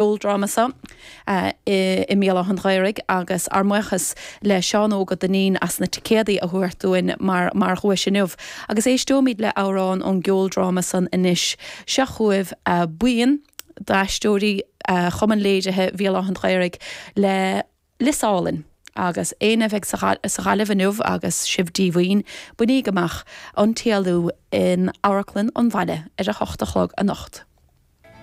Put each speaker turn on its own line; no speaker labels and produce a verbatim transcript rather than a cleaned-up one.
gceoldráma seo i mBéal Átha an Ghaorthaidh agus ár mbuíochas le Seán Óg Ó Duinnín as na ticéadaí a thabhairt dúinn mar mar dhuais inniu. Agus éisteoimid le amhrán ón gceoldráma san anois seo chugaibh buíon d'aisteoirí Chumann Léirithe Bhéal Átha an Ghaorthaidh le Lios Álainn. Agus éinne a bheidh sa Ghaillimh inniu agus sibh díomhaoin, bainigí amach an T L U in Amharclann an Bhaile ar a hocht a chlog anocht.